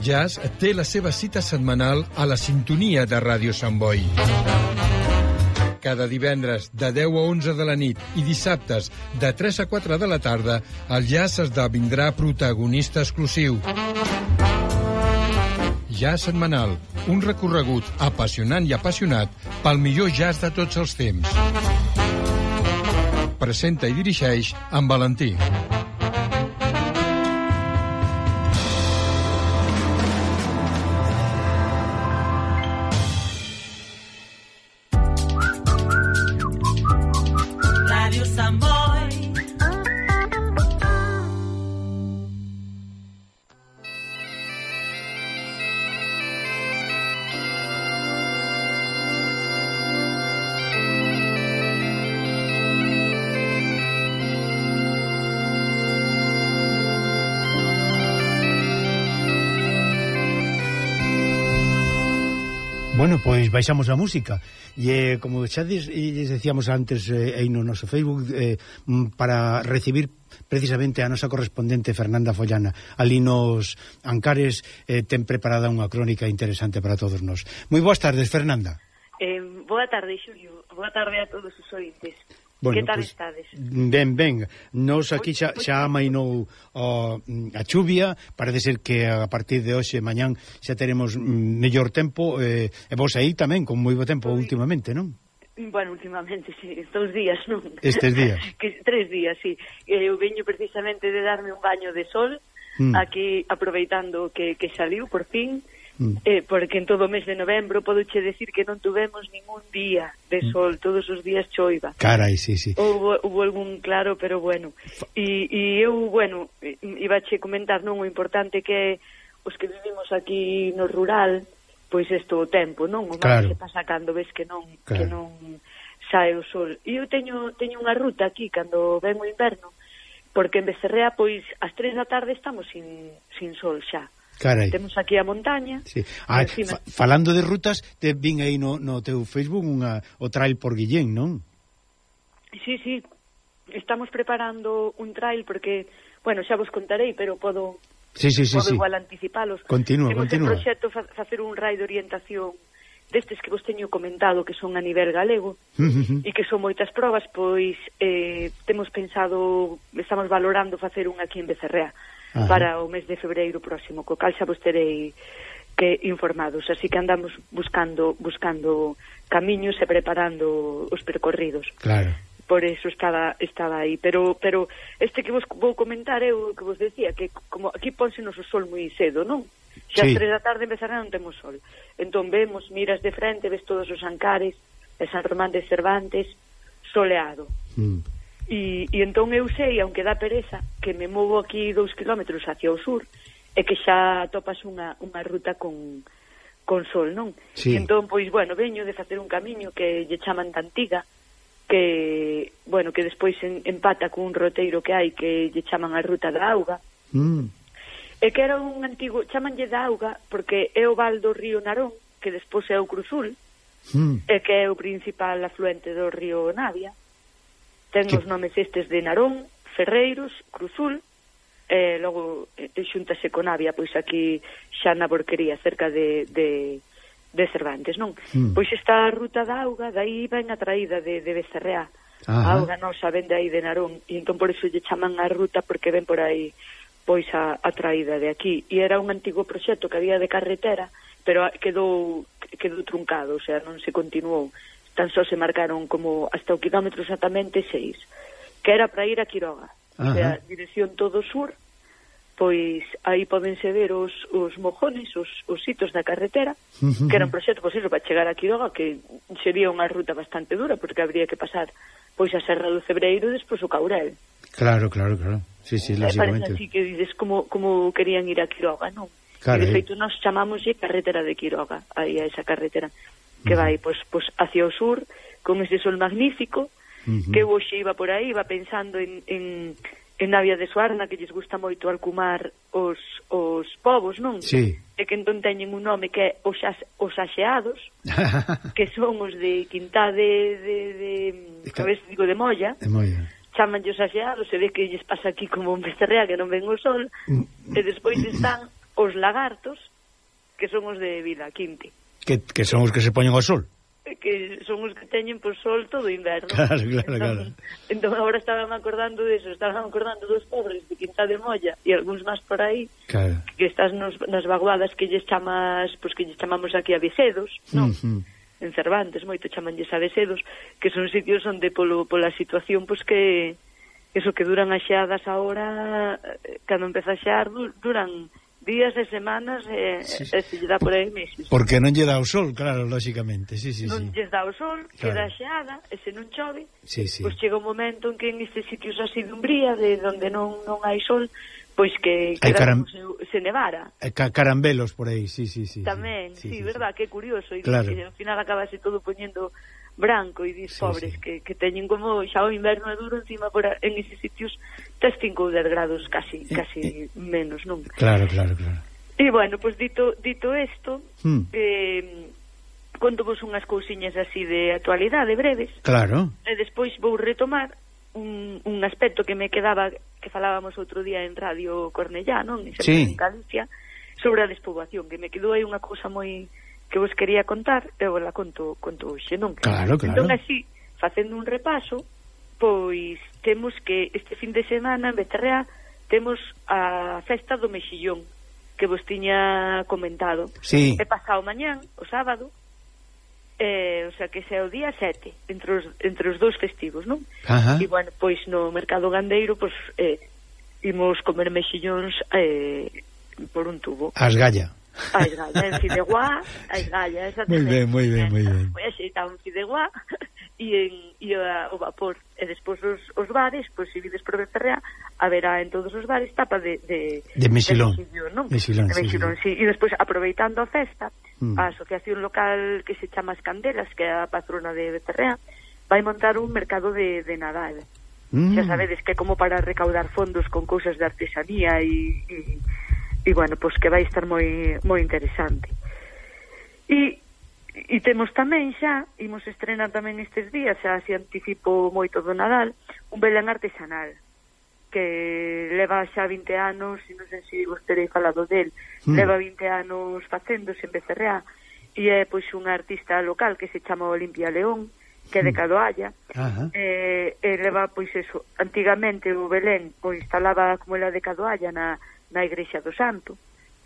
jazz té la seva cita setmanal a la sintonia de Ràdio Sant Boi. Cada divendres de 10 a 11 de la nit i dissabtes de 3 a 4 de la tarda, el jazz esdevindrà protagonista exclusiu. Jazz setmanal, un recorregut apassionant i apassionat pel millor jazz de tots els temps. Presenta i dirigeix en Valentí. Bueno, pois baixamos a música e como xa decíamos antes aí no noso Facebook para recibir precisamente a nosa correspondente Fernanda Follana ali nos Ancares, ten preparada unha crónica interesante para todos nós. Moi boas tardes, Fernanda. Boa tarde, Xulio. Boa tarde a todos os ointes. Bueno, que tal pues, estades? Ben. Nos aquí xa amainou a chuvia. Parece ser que a partir de hoxe mañán xa teremos mellor tempo, e vos aí tamén con moi bo tempo últimamente, non? Bueno, últimamente, sí, 2 días, non? Estes días. 3 días, sí. Eu veño precisamente de darme un baño de sol aquí, aproveitando que saliu por fin. Porque en todo o mes de novembro podoche decir que non tuvemos ningún día de sol, todos os días choiva. Carai, sí. Houve algún claro, pero bueno. E eu, bueno, ibache comentar, non, o importante que os que vivimos aquí no rural, pois isto o tempo, non? O mal se pasa cando ves que non sae o sol. E eu teño unha ruta aquí cando ven o inverno, porque en Becerrea, pois, ás 3 da tarde estamos sin sol xa. Carai. Temos aquí a montaña. Sí. Falando de rutas, te vin aí no teu Facebook o trail por Guillén, non? Sí. Estamos preparando un trail porque, bueno, xa vos contarei, pero podo igual anticipalos. Continúa. Temos en proxecto facer un raid de orientación destes que vos teño comentado que son a nivel galego e que son moitas probas, pois temos pensado, estamos valorando facer un aquí en Becerrea. Para o mes de febreiro próximo, co cal xa vos terei que informados, así que andamos buscando camiños e preparando os percorridos. Claro. Por eso estaba aí, pero este que vos vou comentar eu que vos decía que como aquí pónsenos o sol moi cedo, non? Xa as 3 da tarde empezará non temos sol. Entón vemos, miras de frente, ves todos os Ancares, e San Román de Cervantes soleado. E entón eu sei, aunque dá pereza, que me movo aquí 2 kilómetros hacia o sur e que xa topas unha ruta con sol, non? Sí. E entón, pois, bueno, veño de facer un camiño que lle chaman Tantiga, que, bueno, que despois empata cun roteiro que hai que lle chaman a Ruta da Auga. E que era un antigo, chamanlle da Auga porque é o val do río Narón, que despois é o Cruzul, e que é o principal afluente do río Navia. Ten os nomes estes de Narón, Ferreiros, Cruzul, e logo xuntase con Navia, pois aquí xa na Borquería, cerca de Cervantes, non? Pois esta ruta da Auga, dai ven a traída de Becerrea. A auga nosa ven de aí de Narón, e entón por iso lle chaman a ruta, porque ven por aí pois a traída de aquí. E era un antigo proxecto que había de carretera, pero quedou truncado, o sea, non se continuou. Tan só se marcaron como hasta o kilómetro exactamente 6, que era para ir a Quiroga. O sea, dirección todo sur, pois aí pódense ver os mojones, os sitos da carretera, que era un proxecto, pois iso, para chegar a Quiroga, que sería unha ruta bastante dura, porque habría que pasar pois a Serra do Cebreiro e despois o Caurel. Claro. Sí, lógicamente. Parece así que dices como querían ir a Quiroga, non? E de feito nos chamámoslle carretera de Quiroga, aí a esa carretera que vai pois hacia o sur con ese sol magnífico, que eu hoxe iba por aí, iba pensando en Navia de Suarna, que lles gusta moito alcumar os povos, non? Sí. E que entón teñen un nome que é os Axeados, que son os de Quintá de Molla. De Molla. Chamanlle os Axeados, e ve que lles pasa aquí como un Becerrea que non ven o sol, e despois están os lagartos, que son os de Vila Quinte. Que son os que se poñen ao sol. Que son os que teñen por sol todo o inverno. Claro, claro. Entón agora estaban acordando deso, estaban acordando dos pobres de Quinta de Molla e algúns máis por aí, claro, que estás nas vaguadas que lles chamas, pois que lles chamamos aquí a Vicedos, non? En Cervantes moito chamanlles a Vicedos, que son sitios onde pola situación pois que eso que duran as xeadas agora, cando empeza a xear duran días e semanas e se lle dá por aí meses. Porque non lle dá o sol, claro, lóxicamente. Non lle dá o sol, queda xeada, e se non chove, pois chega un momento en que en estes sitios así de umbría, de onde non hai sol, pois que se nevara. Carambelos por aí, sí. Tamén, sí, verdad, que curioso. E claro, ao final acabase todo poñendo branco e dis pobres que teñen como xa o inverno é duro encima en esos sitios tes 5 ou 10 grados casi menos, non? Claro. E bueno, pues dito isto, contovos unhas cousiñas así de actualidade breves. Claro. E despois vou retomar un aspecto que me quedaba, que falábamos outro día en Radio Cornellá, non? En Galicia, sobre a despoboación, que me quedou aí unha cousa moi que vos quería contar, e vos la conto hoxe, non? Claro. Entón, así, facendo un repaso, pois temos que este fin de semana en Becerreá temos a festa do Mexillón, que vos tiña comentado. Sí. É pasado mañán, o sábado, o sea, que é o día 7, entre os dous festivos, non? Ajá. E, bueno, pois no mercado gandeiro, pois, imos comer mexillóns por un tubo. A esgalla, en Fideuá, a esgalla, esa tamén. Moi ben. Pois axeitado en Fideuá e o vapor. E despois os bares, pois se vides por Becerreá, haberá en todos os bares tapa de mexilón, non? Mexilón, sí. E despois, aproveitando a festa, a asociación local que se chama As Candelas, que é a patrona de Becerreá, vai montar un mercado de Nadal. Xa sabedes que é como para recaudar fondos con cousas de artesanía e bueno, pois que vai estar moi interesante. E temos tamén xa, imos estrenar tamén estes días, xa se anticipo moito do Nadal, un Belén artesanal, que leva xa 20 anos, e non sei se vos terei falado del, leva 20 anos facéndose en Becerreá, e é pois unha artista local que se chama Olimpia León, que é de Cadoalla, e leva pois eso, antigamente o Belén pois instalaba como era de Cadoalla na Igrexa do Santo,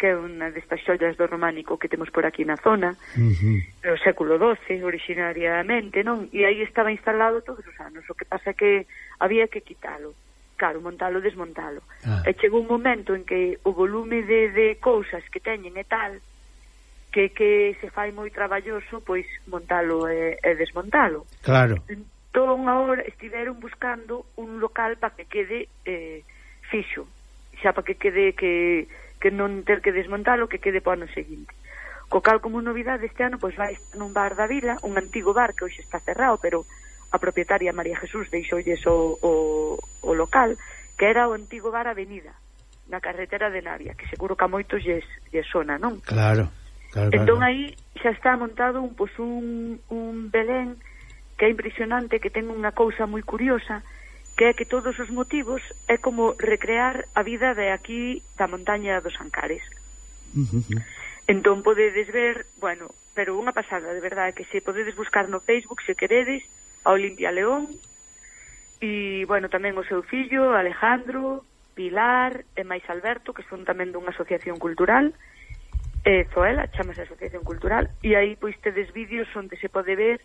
que é unha destas xollas do románico que temos por aquí na zona, no século XII, originariamente, non? E aí estaba instalado todos os anos, o que pasa que había que quitalo, claro, montalo, desmontalo. E chegou un momento en que o volume de cousas que teñen e tal, que se fai moi traballoso, pois montalo e desmontalo. Claro. Entón, agora estiveron buscando un local para que quede fixo, xa para que quede que non ter que desmontalo, que quede para o ano seguinte. Co cal, como novidade este ano, pois vai nun bar da vila, un antigo bar que hoxe está cerrado, pero a propietaria María Jesús deixoulles o local, que era o antigo bar Avenida, na carretera de Navia, que seguro que a moitos lles sona, non? Claro. Entón aí xa está montado un Belén que é impresionante, que ten unha cousa moi curiosa, que é que todos os motivos é como recrear a vida de aquí da montaña dos Ancares. Entón podedes ver, bueno, pero unha pasada, de verdade, que se podedes buscar no Facebook, se queredes, a Olimpia León, e, bueno, tamén o seu fillo, Alejandro, Pilar e máis Alberto, que son tamén dunha asociación cultural, Zoela, chamase Asociación Cultural, e aí, pois, tedes vídeos onde se pode ver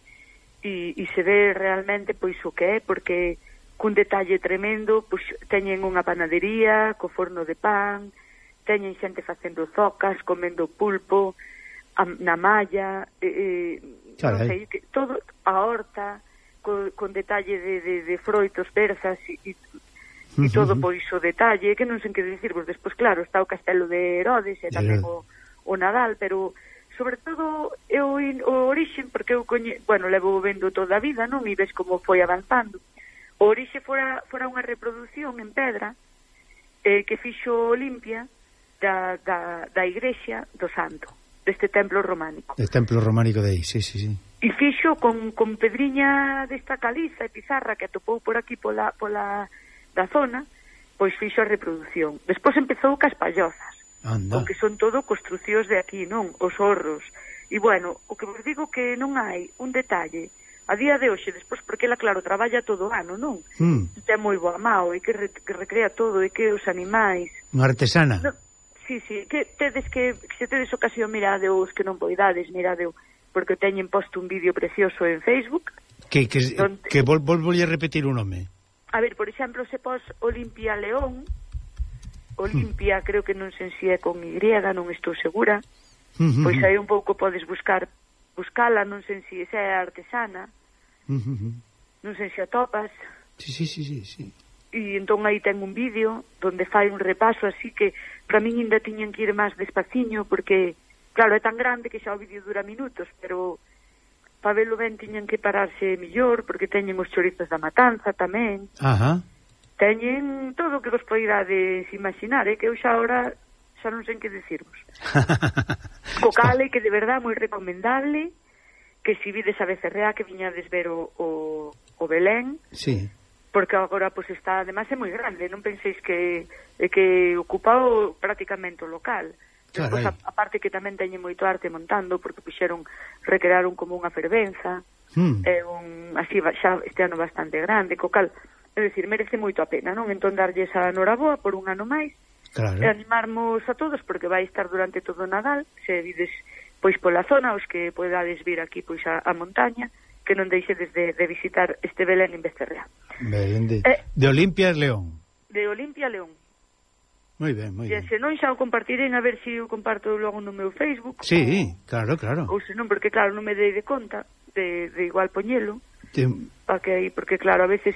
e se ve realmente, pois, o que é, porque cun detalle tremendo, pois teñen unha panadería co forno de pan, teñen xente facendo zocas, comendo pulpo na malla, non sei, todo a horta con detalle de froitos, berzas e todo pois o detalle, que non sei que dicirvos. Despois, claro, está o Castelo de Herodes e tamén o Nadal, pero sobre todo o orixen, porque eu levo vendo toda a vida, non? E ves como foi avanzando. O orixe fora unha reproducción en pedra que fixo Olimpia da Igrexa do Santo, deste templo románico. El templo románico de aí, sí. E fixo con pedriña desta caliza e pizarra que atopou por aquí pola da zona, pois fixo a reproducción. Despois empezou cas pallozas. Aunque son todo construcións de aquí, non? Os horros. E, bueno, o que vos digo que non hai un detalle a día de hoxe, despois, porque ela, claro, traballa todo o ano, non? Ten moi boa mao, e que recrea todo, e que os animais... Unha artesana. No, sí, que se tedes ocasión miradeos, que non poidades, miradeo, porque teñen posto un vídeo precioso en Facebook. Que volvolle repetir o nome. A ver, por exemplo, se pos Olimpia León, Olimpia, creo que non sei se é con Y, non estou segura, pois aí un pouco podes buscala, non sei se é artesana, non sei se a topas. Sí. E entón aí ten un vídeo donde fai un repaso, así que para min ainda tiñan que ir máis despaciño, porque, claro, é tan grande que xa o vídeo dura minutos, pero para velo ben tiñan que pararse millor, porque teñen os chorizos da matanza tamén. Teñen todo o que vos poidades imaginar, que eu xa ahora xa non sei que decirvos. Co cale, que de verdad moi recomendable, que si vides a Becerrea, que viñades ver o Belén, sí, porque agora pues está, además é moi grande, non penséis que ocupa prácticamente o local. Despois, aparte que tamén teñen moito arte montando, porque recrearon como unha fervenza, así xa este ano bastante grande, co cal, é dicir, merece moito a pena, non? Entón darlles a noraboa por un ano máis, e animarmos a todos, porque vai estar durante todo o Nadal, se vides pois pola zona, os que podades vir aquí pois a montaña, que non deixedes de visitar este Belén en Becerrea. De Olimpia León. De Olimpia León. Moi ben. E se non xa o compartirei, a ver se o comparto logo no meu Facebook. Sí, claro. Ou se non, porque claro, non me dei de conta de igual poñelo. Porque claro, a veces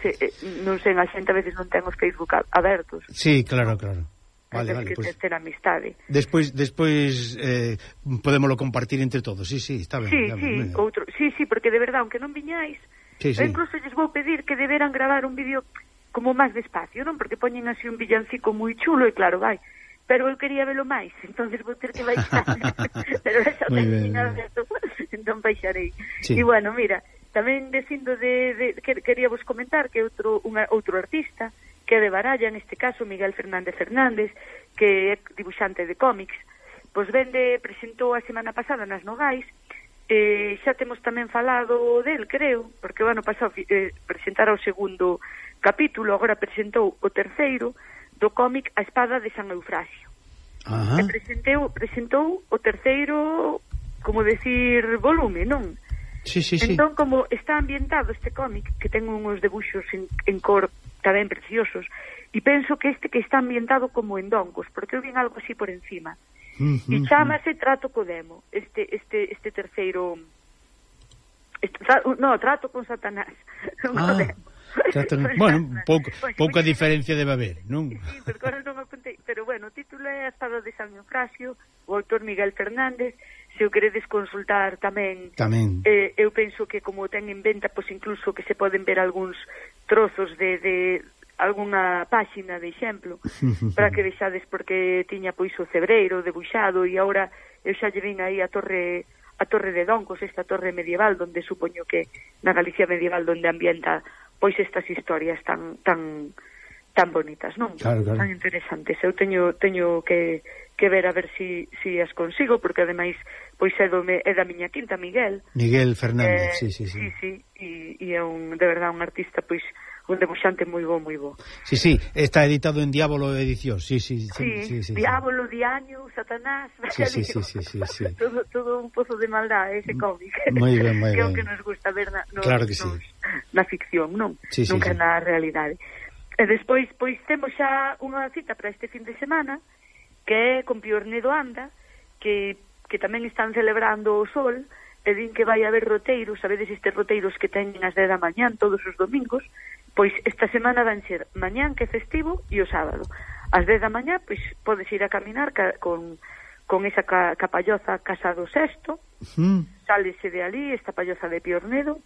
non sei, a xente a veces non ten os Facebook abertos. Sí, claro. Vale, pues, ter amistade. Despois podémoslo compartir entre todos. Sí, está ben. Sí, porque de verdad, aunque non viñáis, incluso lles vou pedir que deberan gravar un vídeo como máis despacio, non? Porque poñen así un villancico moi chulo e claro, vai. Pero eu quería velo máis, entonces vou ter que baixar. Pero esa técnica, entón baixarei. E bueno, mira, tamén dicindo quería vos comentar que outro artista que é de Baralla, en este caso Miguel Fernández, que é dibuixante de cómics, pois presentou a semana pasada nas Nogais, xa temos tamén falado del, creo, porque o ano pasado presentara o segundo capítulo, agora presentou o terceiro do cómic A Espada de San Eufrasio. E presentou o terceiro, como decir, volume, non? Sí. Entón, como está ambientado este cómic, que ten uns debuxos en cor tamén preciosos, e penso que está ambientado como en Dongos, porque eu vin algo así por encima, e chámase Trato co Demo, este terceiro, Trato con Satanás. Bueno, pouca diferencia debe haber, non? Sí, porque ahora non apuntei, pero bueno, o título é A Espada de San Eufrasio, o autor Miguel Fernández. Se o queredes consultar tamén. Eu penso que como ten en venta, pois incluso que se poden ver algúns trozos de algunha páxina de exemplo, para que vexades, porque tiña pois o cebreiro debuxado, e agora eu xa lle vin aí a torre de Doncos, esta torre medieval, donde supoño que na Galicia medieval, donde ambienta pois estas historias tan bonitas, non? Claro. Tan interesantes. Eu teño que ver a ver si as consigo, porque ademais pois é da miña quinta, Miguel Fernández, sí. E é de verdad un artista, pois un debuxante moi bo. Sí, está editado en Diabolo Edición. Sí. Diabolo, Diaño, Satanás. Sí. Todo un pozo de maldad ese cómic. Moi ben. Que é o que nos gusta ver na ficción, non? Sí. Nunca na realidade. E despois, pois, temos xa unha cita para este fin de semana, que é con Piornedo Anda, que tamén están celebrando o sol, e din que vai haber roteiros, sabedes estes roteiros que teñen as 10 da mañán todos os domingos, pois esta semana van ser mañán, que é festivo, e o sábado. As 10 da mañá, pois, podes ir a caminar con esa capalloza Casa do Sesto, sálese de ali, esta palloza de Piornedo,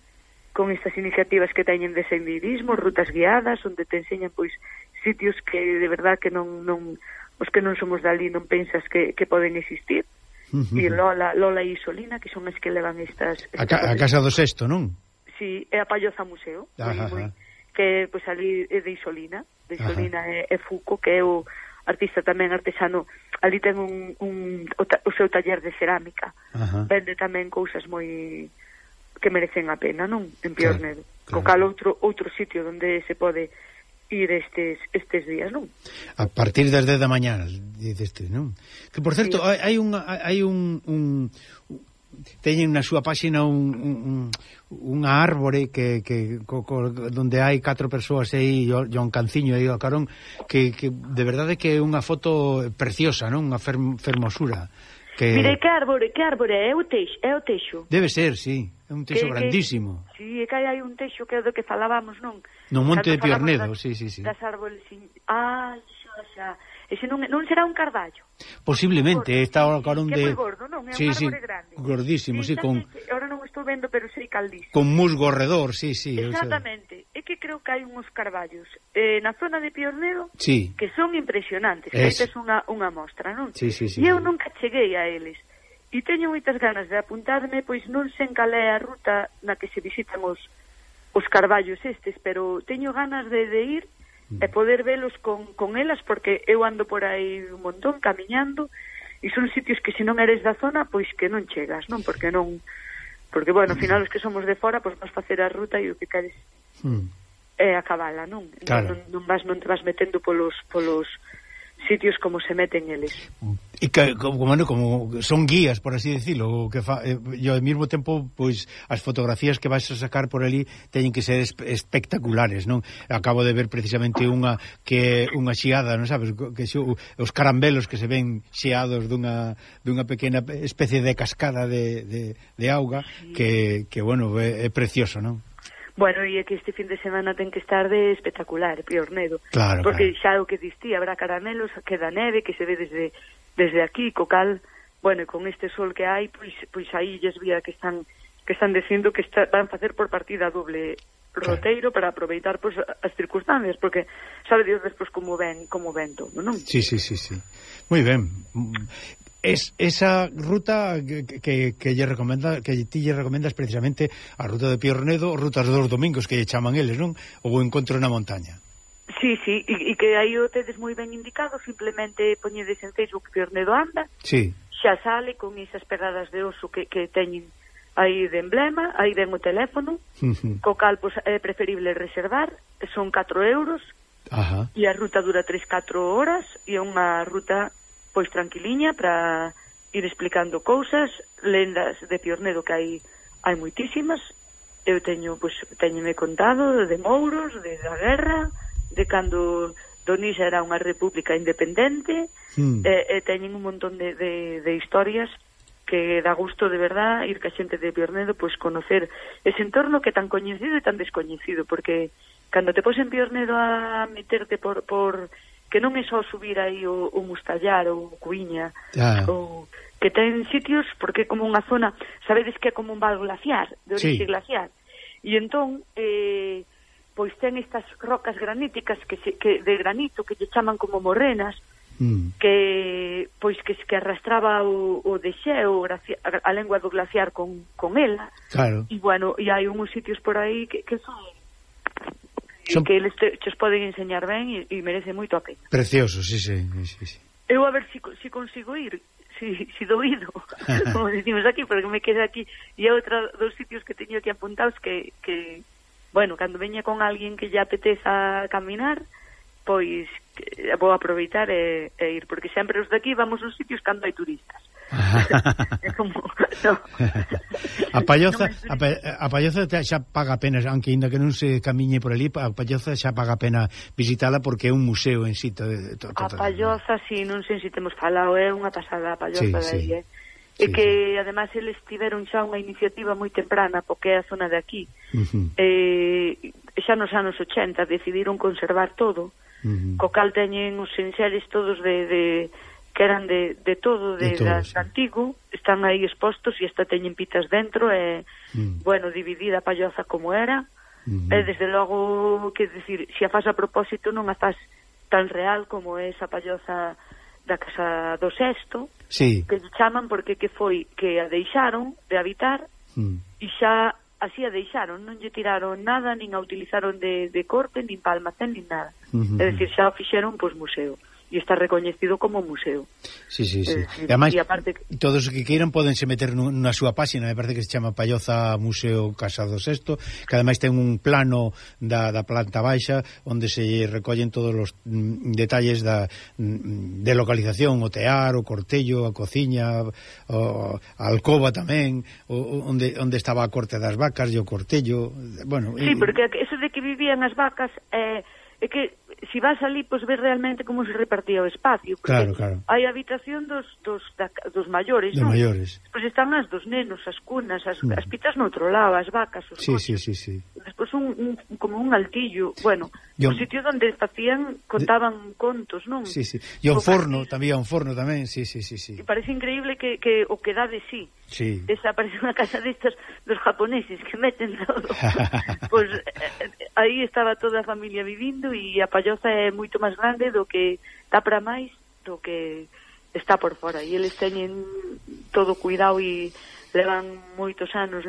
con estas iniciativas que teñen de senderismo, rutas guiadas, onde te enseñan, pois, sitios que de verdad que non os que non somos dali non pensas que poden existir. E Lola e Isolina, que son as que levan estas... A Casa do Sesto, non? Sí, é a Palloza Museo, que pois ali é de Isolina. De Isolina é Fuco, que é artista tamén artesano, ali ten o seu taller de cerámica. Vende tamén cousas moi que merecen a pena, non? En Piornedo. Co cal outro sitio onde se pode ir estes días, non? A partir das 10 da mañá, diceste, non? Que, por certo, hai un teñen na súa páxina unha árbore donde hai 4 persoas aí e un canciño aí ao carón que de verdade que é unha foto preciosa, non? Unha fermosura. Mire, que árbore é o teixo. Debe ser, sí, é un teixo grandísimo. Sí, é que hai un teixo que é do que falábamos, non? No Monte de Piornedo, sí. Das árboles, xa. Ese non será un carballo. Posiblemente, está ao carón de... Que é moi gordo, non? É un árbore grande. Gordísimo, sí, con... Ahora non estou vendo, pero sei caldísimo. Con musgo ao redor, sí. Exactamente. É que creo que hai uns carballos na zona de Piornedo que son impresionantes. Que aí tes unha mostra, non? Sí. E eu nunca cheguei a eles. E teño moitas ganas de apuntarme, pois non sei cal é a ruta na que se visitan os carballos estes, pero teño ganas de ir e poder velos con elas, porque eu ando por aí un montón camiñando e son sitios que se non eres da zona, pois que non chegas, non? Porque, bueno, ao final os que somos de fora, pois vas facer a ruta e o que queres é acabala, non? Claro. Non te vas metendo polos sitios como se meten eles. E que, como son guías, por así decirlo, que e ao mesmo tempo, pois, as fotografías que vais a sacar por ali teñen que ser espectaculares, non? Acabo de ver precisamente unha xiada, non sabes? Que os carambelos que se ven xeados dunha pequena especie de cascada de auga que bueno, é precioso, non? Bueno, e é que este fin de semana ten que estar de espectacular, Piornedo. Claro, porque xa o que distí, habrá caramelos, queda neve, que se ve desde aquí, co cal, bueno, con este sol que hai, pois aí lles vía que están dicindo que van facer por partida doble roteiro para aproveitar pois as circunstancias, porque sabe Dios despois como ven todo, non? Sí. Moi ben. Esa ruta que lle recomenda, que ti lle recomendas precisamente a ruta de Piornedo, rutas dos domingos que lle chaman eles, non? O encontro na montaña. Sí, e que aí o tedes moi ben indicado, simplemente poñedes en Facebook Piornedo anda, xa sale con esas pegadas de oso que teñen aí de emblema, aí ven o teléfono, co cal pois, é preferible reservar, son 4 euros, e a ruta dura 3-4 horas, e é unha ruta pois tranquiliña para ir explicando cousas, lendas de Piornedo que hai moitísimas. Eu teñome contado de mouros, da guerra, de cando Donisa era unha república independente, e teñen un montón de historias que dá gusto de verdad ir ca xente de Piornedo pois conocer ese entorno que é tan coñecido e tan descoñecido, porque cando te pos en Piornedo a meterte por que non é só subir aí o Mustallar ou o Cuiña, ou que ten sitios, porque é como unha zona, sabedes que é como un val glaciar, de orixe glaciar, e entón pois ten estas rocas graníticas que de granito que lle chaman como morrenas, que pois que arrastraba o desxeo, a lengua do glaciar con ela, e bueno, e hai uns sitios por aí que son que eles chos poden enseñar ben e merece moito a pena. Precioso, sí. Eu a ver si consigo ir, si doído, como decimos aquí, porque me queda aquí, e dos sitios que teño aquí apuntados que bueno, cando veña con alguén que lle apeteza caminar, pois vou aproveitar e ir, porque sempre os daqui vamos aos sitios cando hai turistas. É como a Palloza xa paga pena, aunque ainda que non se camiñe por ali, a Palloza xa paga pena visitala porque é un museo en sitio a Palloza, si, non sei se temos falado, é unha pasada a Palloza de aí, e que además eles tiveron xa unha iniciativa moi temprana, porque é a zona de aquí, xa nos anos 80 decidiron conservar todo, co cal teñen os enxeres todos que eran de todo, de antigo, están aí expostos e hasta teñen pitas dentro, e, bueno, dividida a Palloza como era, e desde logo, que decir, se a faz a propósito non a faz tan real como é esa Palloza da Casa do Sesto, que lle chaman porque que foi que a deixaron de habitar, e xa así a deixaron, non lle tiraron nada, nin a utilizaron de corte, nin para almacén, nin nada. É dicir, xa o fixeron pois museo. e está recoñecido como museo. Sí. E ademais, todos os que queiran podense meter na súa páxina, me parece que se chama Palloza Museo Casa do Sexto, que ademais ten un plano da planta baixa onde se recollen todos os detalles de localización, o tear, o cortello, a cociña, a alcoba tamén, onde estaba a corte das vacas e o cortello, bueno... Sí, porque eso de que vivían as vacas é que si vas ali, pois ves realmente como se repartía o espacio, porque claro. hai habitación dos maiores, non? Maiores. Pois están as dos nenos, as cunas, as pitas no outro lado, as vacas, os coches. Sí. Despois como un altillo, bueno, un sitio onde contaban contos, non? Sí. E un forno, tamén, sí. E parece increíble que o que dá de sí. Sí. Esa parece unha casa destas dos japoneses que meten todo. Pois aí estaba toda a familia vivindo e a Palloza é moito máis grande do que dá para máis do que está por fora. E eles teñen todo cuidado e levan moitos anos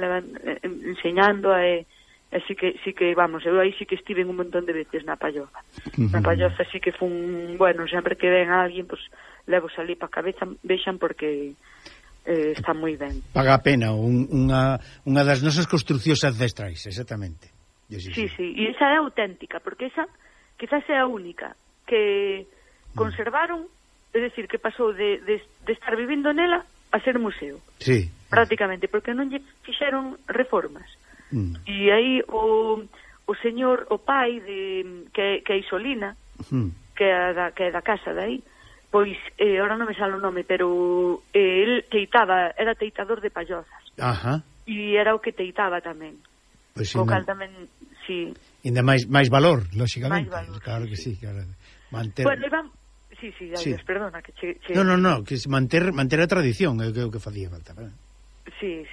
enseñando sí que vamos, eu aí sí que estive un montón de veces na Palloza. Na Palloza sí que fun, bueno, sempre que ven a alguén, pois levo ali pa cabeza, vexan porque está moi ben. Paga a pena, unha das nosas construcións ancestrais, exactamente. Sí, e esa é auténtica, porque esa quizás é a única que conservaron, é dicir, que pasou de estar vivindo nela a ser museo. Sí. Prácticamente, porque non lle fixeron reformas. E aí o señor, o pai que é Isolina, que é da casa de aí, pois, ahora non me sale o nome, pero el era teitador de Pallozas. Ajá. E era o que teitaba tamén. Pois o cal tamén, sí. Ainda máis valor, lóxicamente. Claro que sí, claro. Bueno, sí, perdona que No, que manter a tradición é o que facía falta, ¿verdad? Sí.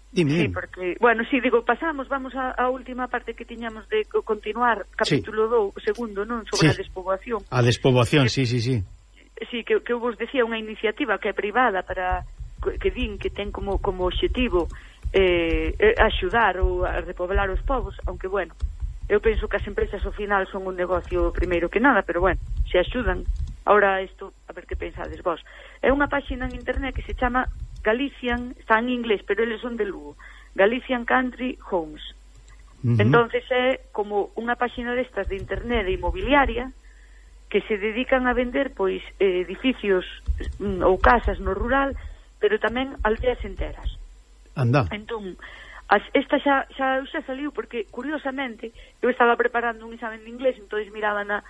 Dime. Sí, porque, bueno, sí, digo, vamos á última parte que tiñamos de continuar, capítulo 2, segundo, non? Sobre a despoboación. A despoboación, sí. Sí, que eu vos decía unha iniciativa que é privada para que din que ten como obxectivo axudar ou a repoblar os povos, aunque, bueno, eu penso que as empresas ao final son un negocio primeiro que nada, pero, bueno, se axudan. Ahora isto, a ver que pensades vos. É unha páxina en internet que se chama Galician, está en inglés, pero eles son de Lugo, Galician Country Homes. Entonces é como unha páxina destas de internet de inmobiliaria que se dedican a vender, pois, edificios ou casas no rural, pero tamén aldeas enteras. Anda. Entón, esta xa saliu porque, curiosamente, eu estaba preparando un examen de inglés, entón miraba na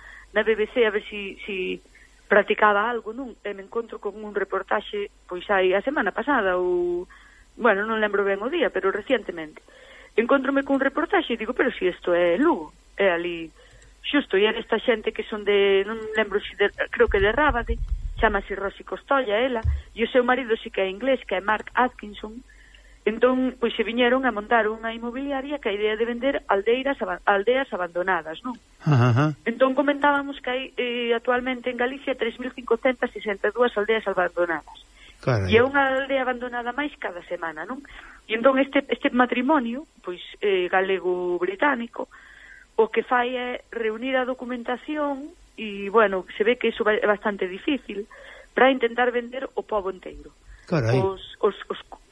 BBC a ver si practicaba algo, non? E me encontro con un reportaxe, pois hai a semana pasada, ou, bueno, non lembro ben o día, pero recientemente. Encontrome con un reportaxe e digo, pero si isto é Lugo, é ali, xusto, e era esta xente que son de, non lembro si creo que de Rábade, chamase Rosy Costolla, ela, e o seu marido si que é inglés, que é Mark Atkinson. Entón, pois se viñeron a montar unha inmobiliaria que a idea de vender aldeas abandonadas, non? Entón comentábamos que hai actualmente en Galicia 3.562 aldeas abandonadas. Carai. E é unha aldea abandonada máis cada semana, non? E entón este matrimonio, pois galego-británico, o que fai é reunir a documentación e, bueno, se ve que iso é bastante difícil para intentar vender o pobo inteiro. Carai. Os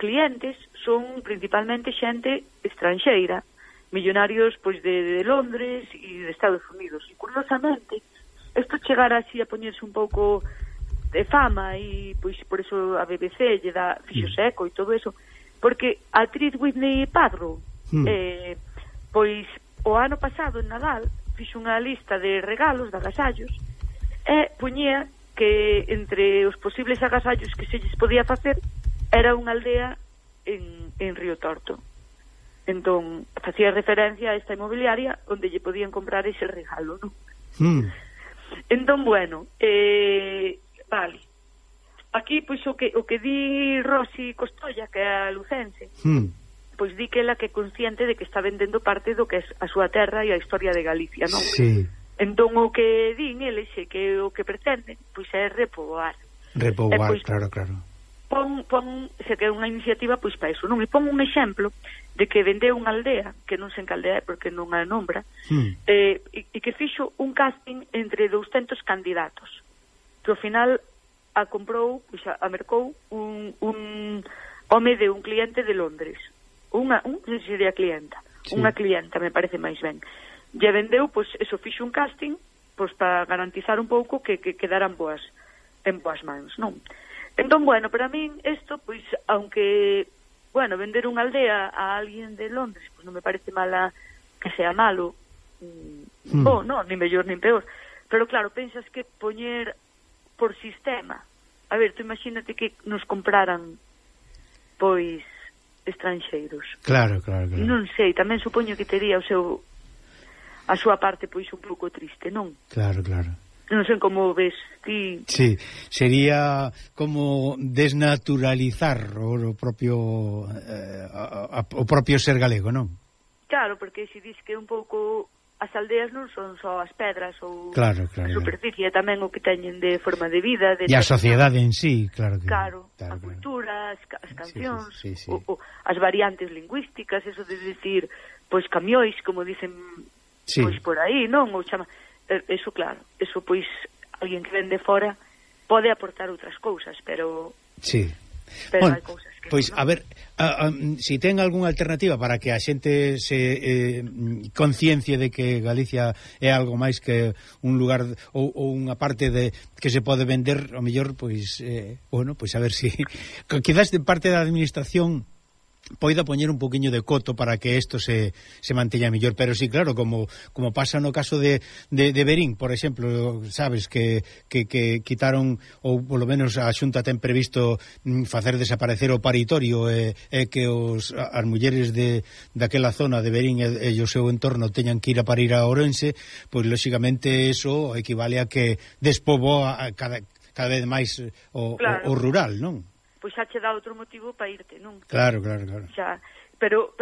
clientes son principalmente xente estranxeira, millonarios pois de Londres e de Estados Unidos. E curiosamente, isto chegara así a poñerse un pouco de fama e pois por eso a BBC lle dá fixo seco e todo eso, porque a actriz Whitney Padro pois o ano pasado en Nadal fixo unha lista de regalos, de agasallos, e poñía que entre os posibles agasallos que se lles podía facer era unha aldea en Río Torto. Entón, facía referencia a esta inmobiliaria onde lle podían comprar ese regalo, non? Entón, bueno, vale. Aquí, pois, o que di Rosy Costolla, que é a lucense, pois di que ela que é consciente de que está vendendo parte do que é a súa terra e a historia de Galicia, non? Sí. Entón, o que din eles é que o que pretenden, pois, é repoboar. Repoboar, pois, claro. se que é unha iniciativa pois para iso, non? E pon un exemplo de que vendeu unha aldea, que non sei en que aldea é porque non a nombra, e que fixo un casting entre 200 candidatos, que ao final a comprou, pois a mercou un home de un cliente de Londres, non sei se sería clienta, unha clienta me parece máis ben, e vendeu, pois eso, fixo un casting pois para garantizar un pouco que quedaran en boas mans, non? Entón, bueno, para min isto, pois, aunque, bueno, vender unha aldea a alguén de Londres, pois non me parece mala que sea malo, non, ni mellor nin peor, pero claro, pensas que poñer por sistema, a ver, tú imagínate que nos compraran, pois, estranxeiros. Claro. Non sei, tamén supoño que tería a súa parte, pois, un pouco triste, non? Claro. Non sei como ves ti. Sí, sería como desnaturalizar o propio ser galego, non? Claro, porque se dis que un pouco as aldeas non son só as pedras ou claro. a superficie, tamén o que teñen de forma de vida, e a sociedade en sí, claro que claro, a cultura, as cancións, o as variantes lingüísticas, eso de decir, pois camiois, como dicen pois por aí, non? Ou chama eso, claro, eso pois alguén que vende fora pode aportar outras cousas, pero bueno, hai cousas que pois non. A ver, si ten algunha alternativa para que a xente se conciencia de que Galicia é algo máis que un lugar ou unha parte de que se pode vender, ao mellor, pois bueno, pois a ver si quizás de parte da administración poida poñer un poquinho de coto para que isto se manteña mellor, pero sí, claro, como pasa no caso de Verín, por exemplo, sabes que quitaron, ou polo menos a Xunta ten previsto facer desaparecer o paritorio e que as mulleres daquela zona de Verín e o seu entorno teñan que ir a parir a Ourense, pois lóxicamente eso equivale a que despoboa cada vez máis o rural, non? Pois xa che dá outro motivo para irte, non? Claro. Xa, pero,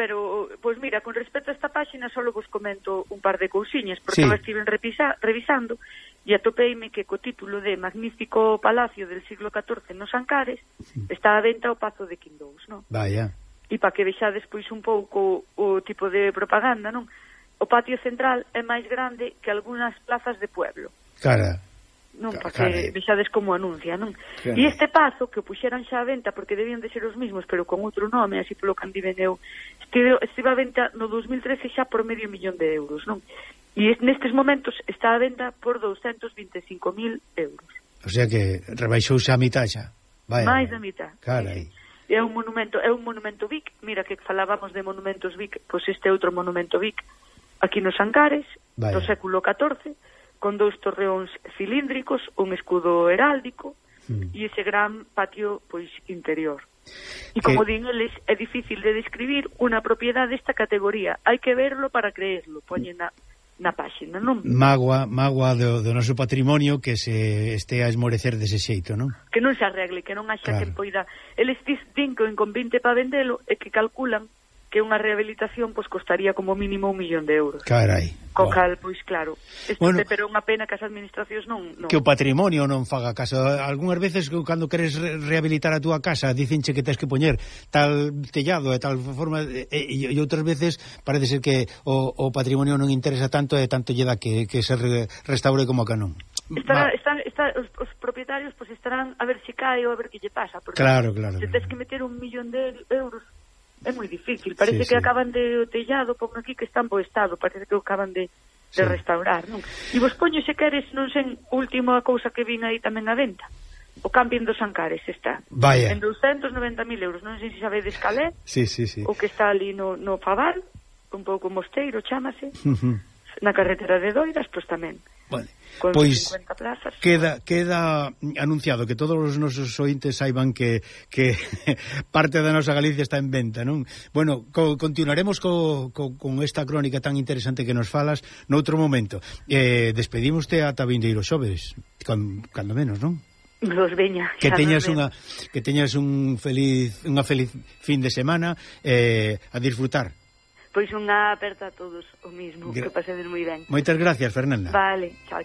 pois mira, con respecto a esta páxina só vos comento un par de cousiñas, porque eu estive revisando e atopeime que co título de Magnífico Palacio del siglo XIV nos Ancares está a venta o Pazo de Quindous, non? Vaya. E para que vexades pois un pouco o tipo de propaganda, non? O patio central é máis grande que algunhas plazas de pueblo. Cara. Non, para que vexades como anuncia, non? E este pazo, que o puxeran xa a venta porque debían de ser os mismos, pero con outro nome, así polo que andiven eu, estive a venta no 2013 xa por €500,000, non? E nestes momentos está a venta por 225.000 euros. O sea que rebaixouse a mitad xa. Vaya, máis da mitad. Carai. É un monumento Vic, mira que falábamos de monumentos Vic, pois este outro monumento Vic, aquí nos Ancares, do século XIV, con 2 torreóns cilíndricos, un escudo heráldico e ese gran patio pois interior. E como din eles, é difícil de describir unha propiedade desta categoría. Hai que verlo para creerlo, poñen na páxina, non? Mágoa do noso patrimonio que se este a esmorecer dese xeito, non? Que non se arregle, que non haxa quen poida. Eles din que en convinte para vendelo e que calculan que unha rehabilitación pois costaría como mínimo €1.000.000. Carai. Co cal, pois claro, pero unha pena que as administracións non... Que o patrimonio non faga caso. Algúnas veces cando queres rehabilitar a túa casa dicenche que tens que poñer tal tellado e tal forma e outras veces parece ser que o patrimonio non interesa tanto e tanto lle dá que se restaure como a canón. Os propietarios pois estarán a ver se cae ou a ver que lle pasa, porque se tens que meter €1.000.000 é moi difícil, parece que acaban de o tellado, pon aquí que está en bo estado, parece que o acaban de restaurar, non? E vos poño, se queres, non sei, última cousa que vin aí tamén a venta, o camping dos Ancares está en €290.000, non sei se sabedes cal é, o que está ali no Fabal, un pouco mosteiro, chámase, na carretera de Doiras, pois tamén. Vale. Pois queda anunciado que todos os nosos ointes saiban que parte da nosa Galicia está en venta, non? Bueno, continuaremos con esta crónica tan interesante que nos falas noutro momento. Despedimoste ata vindeiro xoves, cando menos, non? Los veña. Que teñas unha feliz fin de semana a disfrutar. Pois unha aperta a todos o mismo, que pasedes moi ben. Moitas gracias, Fernanda. Vale, chao.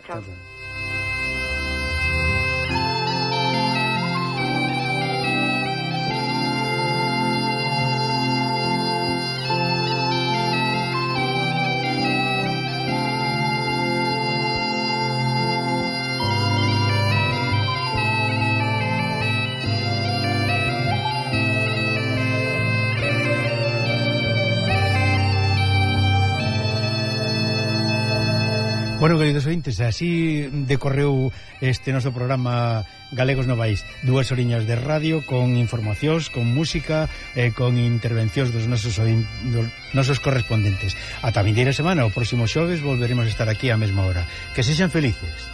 Bueno, queridos ointes, así decorreu este noso programa Galegos Novais. 2 horiñas de radio con informacións, con música, con intervencións dos nosos correspondentes. Ata a vindeira semana, o próximo xoves, volveremos a estar aquí á mesma hora. Que sexan felices.